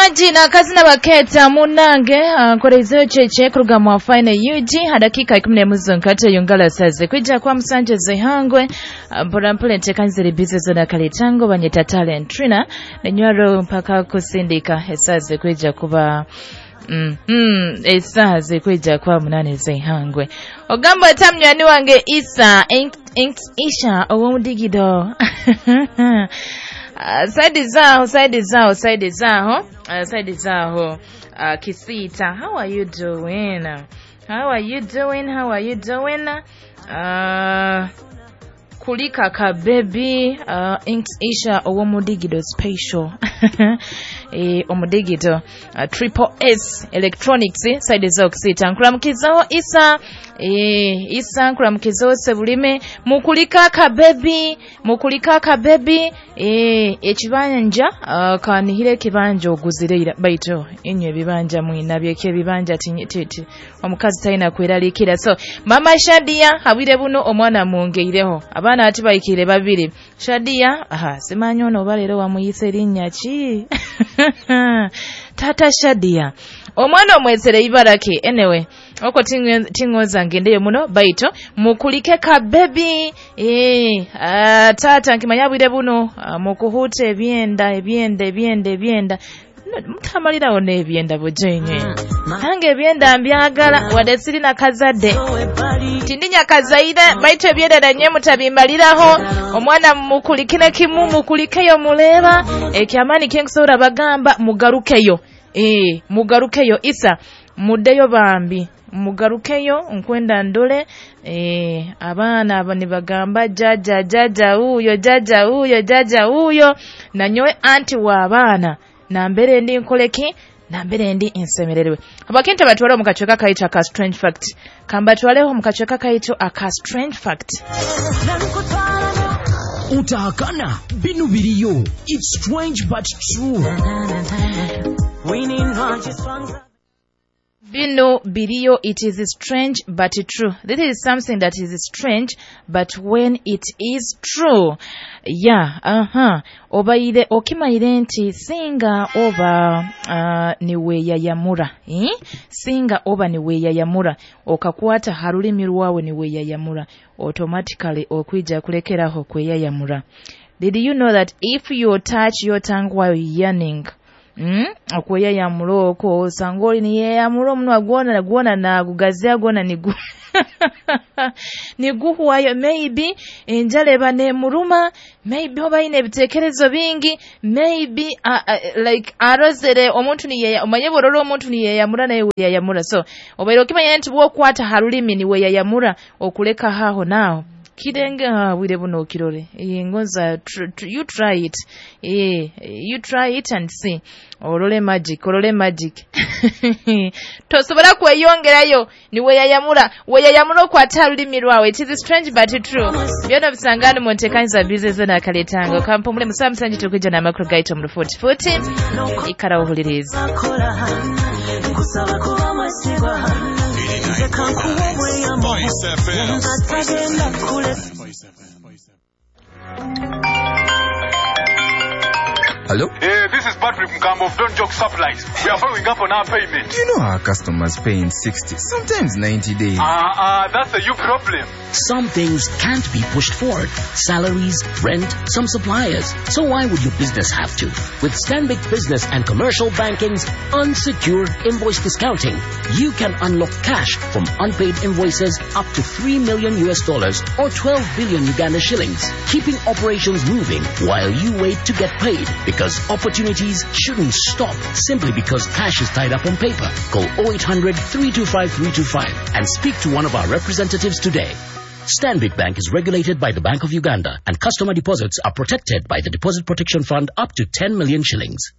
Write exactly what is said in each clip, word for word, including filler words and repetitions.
Mwaji na kazina baketa munange nkorezeyo cheche kuruga mu fine U G hadakika ikumi n'emu zonkate yungala saze kwija kwa musanje zehangwe mpora mpole ntekanzire business na kaletango banyeta talent trina nenywaro mpaka kusindika esaze kwija kuba Mm, mm, esaze kwija kwa munane zehangwe ogamba tamnywani wange Isa ink, ink, Isha owomudigido. Uh, saidi zao saidi zao saidi zao uh, saidi zao uh, Kisita, how are you doing? How are you doing? How are you doing? Uh, kulika ka baby uh, inks Isha owomudigido special. E, omudigido uh, triple S electronics saidi zao Kisita nkuramukizaho Isa. E, Isa nkuramukizaho Sebulime mukulika ka baby mukulika ka baby. E, ekibanja uh, kanihire ekibanja oguzire baito inywe ebibanja mwina byeke ebibanja titi omukazi talina kweralikira. So mama Shadia habire buno omwana mwongeireho abaana ati bayikire babiri. Shadia aha simanyi ono oba leero wamuyise erinnya ki? Tata Shadia omwana omwesere ibarake. Anyway oko tingoza ngendeyo muno baito mukulike ka baby. Eh uh, tata nkimanya bwire buno uh, mukuhute ebyenda ebyenda ebyenda ebyenda mutamalirawo n'ebyenda bujenye nange ebyenda mbyagala wadde sirina kazadde tindinya kazaire baito ebyenda nanye mutabimbaliraho omwana mukulikine kimu mukulikeyo muleba ekyamaani kyenkusobola bagamba mugarukeyo. Eh mugarukeyo Isa muddeyo bambi mugarukeyo nkwenda ndole. Eh abaana abo nibagamba jaja jaja uyo jaja uyo jaja uyo nanyowe anti wa abaana nambere ndi nkoleki nambere ndi nsemererwe. Abakintu batwale mu kachweka kaito aka strange fact kambatwaleho mu kachweka kaito aka strange fact. Utahakana binu biriyo, it's strange but true. Bino biriyo, it is strange but true. This is something that is strange but when it is true. Yeah, uh-huh. Obaire okimaire nti singa oba uh, niweyayamura. Eh? Singa oba niweyayamura. Okakwata harulimi rwawe niweyayamura. Automatically okwija kulekeraho kweyayamura. Did you know that if you touch your tongue while yearning, Mm? Okweyayamura okwo osanga oli niyeyamura omunwa gwona gwona nagugazya gwona nigu niguhwayo. Maybe enjala eba nemuruma, maybe oba ayine ebitekerezo bingi, maybe uh, uh, like arozere omuntu niyeya omanye borora omuntu niyeyamura naye weyayamura. So obaire okimanya nti bwokwata harulimi niweyayamura okuleka haho naho kirenge bwire buno okirore. Ngonza you try it. Eh, you try it and see. Olole magic, olole magic. Tosobola kweyongerayo ni weyayamura, weyayamura okwata lulimi lwawe. It is strange but true. Byona bisangani mu ntekanyiza business na kaletango. Kampumule musa musanji tukija na makro gaito mu forty forty. Ikara uhuliriza. Spice F M. Spice F M. Hello? Hey, this is Patrick Mkambo of Don't Joke Supplies. We are following up on our payment. You know our customers pay in sixty, sometimes ninety days. Ah, uh, uh, that's a you problem. Some things can't be pushed forward. Salaries, rent, some suppliers. So why would your business have to? With Stanbic Business and Commercial Banking's unsecured invoice discounting, you can unlock cash from unpaid invoices up to three million U S dollars or twelve billion Uganda shillings, keeping operations moving while you wait to get paid. Because opportunities shouldn't stop simply because cash is tied up on paper. Call oh eight hundred, three two five, three two five and speak to one of our representatives today. Stanbic Bank is regulated by the Bank of Uganda and customer deposits are protected by the Deposit Protection Fund up to ten million shillings.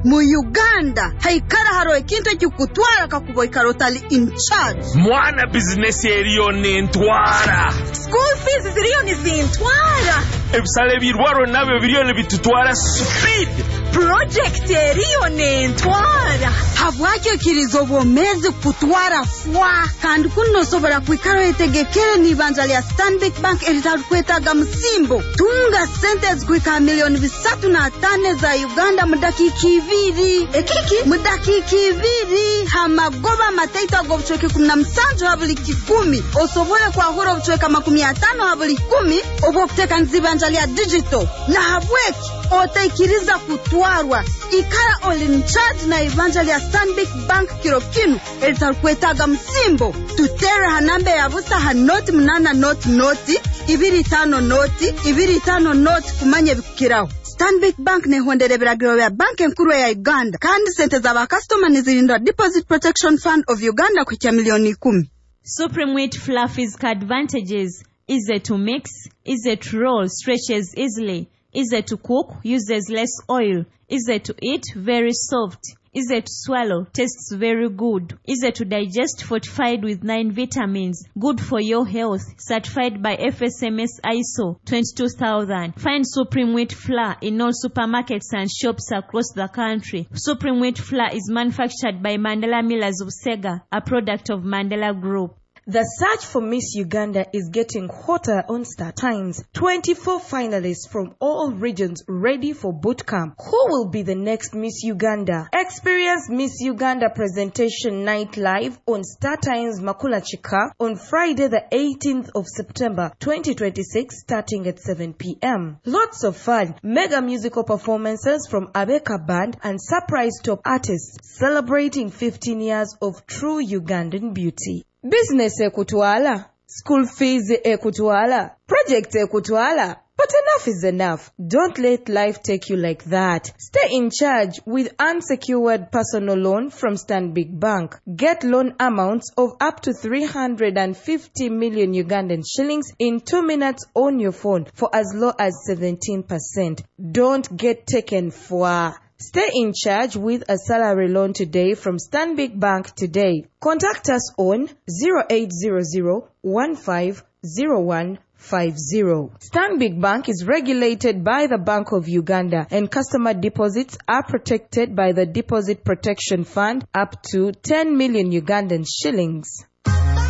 Mu Uganda haikara haro ekintu ekikutwara kakuba ikara otali in charge. Mwana bizinesi eriyo nentwara. School fees ziriyo nizintwara. Ebisale ebirwaro nabyo biriyo nibitutwara speed. Project eriyo nentwara. Habwaki oikiriza obwomeezi kutwara fwa? Kandi kuno osobora kwikara oyetegekere n'ibanja lya Stanbic Bank eritarukwetaaga musimbo. Tunga sente ezikuhika milioni bisatu na tano za Uganda mu dakiika ibiri. Ekiki? Mu dakiika ibiri hamagoba amataito ag'obucweka ikumi na musanju ha buli kikumi. Osobole kwahura obucweka makumi atano ha buli kumi obw'okuteekaniza ibanja lya digital. Nahabweki otaikiriza kutwarwa. Ikara oli in charge na ibanja lya Stanbic Bank kiro kinu eritarukwetaaga musimbo. Tutere ha namba ya busa ha noti munana noti noti ibiri tano noti ibiri tano noti kumanya ebikukiraho. Stanbic Bank nehondera ebiragiro bya banki enkuru ya Uganda kandi sente z'abakasitoma nizirindwa Deposit Protection Fund of Uganda kuhikya milioni ikumi. Supreme Wheat Fluffy's advantages: easy to mix, easy to roll, stretches easily, easy to cook, uses less oil, easy to eat, very soft, easy to swallow, tastes very good, easy to digest, fortified with nine vitamins, good for your health, certified by F S M S I S O twenty-two thousand. Find Supreme Wheat Flour in all supermarkets and shops across the country. Supreme Wheat Flour is manufactured by Mandela Millers of Sega, a product of Mandela Group. The search for Miss Uganda is getting hotter on Star Times. twenty-four finalists from all regions ready for boot camp. Who will be the next Miss Uganda? Experience Miss Uganda presentation night live on Star Times Makula Chika on Friday the eighteenth of September twenty twenty-six starting at seven p m. Lots of fun, mega musical performances from Abeka Band and surprise top artists celebrating fifteen years of true Ugandan beauty. Business ekutwala, school fees ekutwala, project ekutwala. But enough is enough. Don't let life take you like that. Stay in charge with unsecured personal loan from Stanbic Bank. Get loan amounts of up to three hundred fifty million Ugandan shillings in two minutes on your phone for as low as seventeen percent. Don't get taken for. Stay in charge with a salary loan today from Stanbic Bank today. Contact us on zero eight zero zero one five zero one five zero. Stanbic Bank is regulated by the Bank of Uganda and customer deposits are protected by the Deposit Protection Fund up to ten million Ugandan shillings.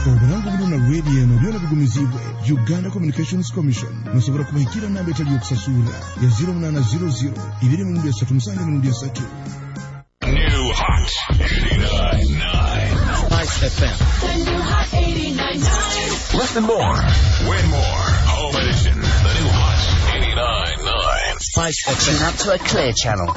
Obulango buno na radio eno byona bigumizibwe Uganda Communications Commission. Musobola kubahikira namba etali yokusasula ya zero munana zero zero ibiri mirundi esatu musanju mirundi esatu. New Hot eighty-nine nine. Spice F M. The New Hot eighty-nine nine. Listen more, win more. Home edition. The New Hot eighty-nine nine. Spice F M. Tune up to a clear channel.